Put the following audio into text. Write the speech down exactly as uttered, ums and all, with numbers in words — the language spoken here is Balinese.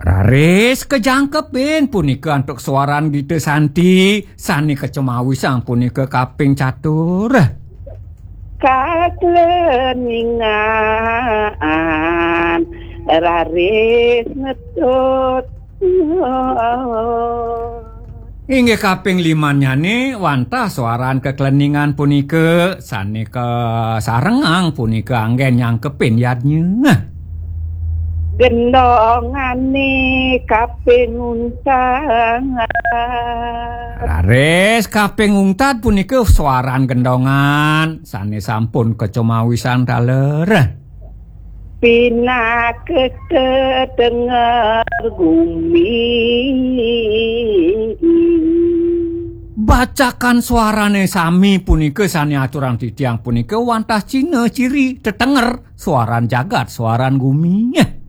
Raris kajangkepin punika antuk swaran Gita Santi sane kacemawisang punika kaping catur. Kakleningan raris ngetut. Inggih kaping limannyane wantah swaran kakleningan punika sane kasarengang punika anggen nyangkepin yadnya. Gendongane kaping untang. Raris kaping ungtad punika swaran gendongan sane sampun kacemawisang taler. Pinaka tetenger gumi. Bacakan swarane sami punika sane aturang titiang punika wantah cina ciri tetenger swaran jagat, swaran gumi.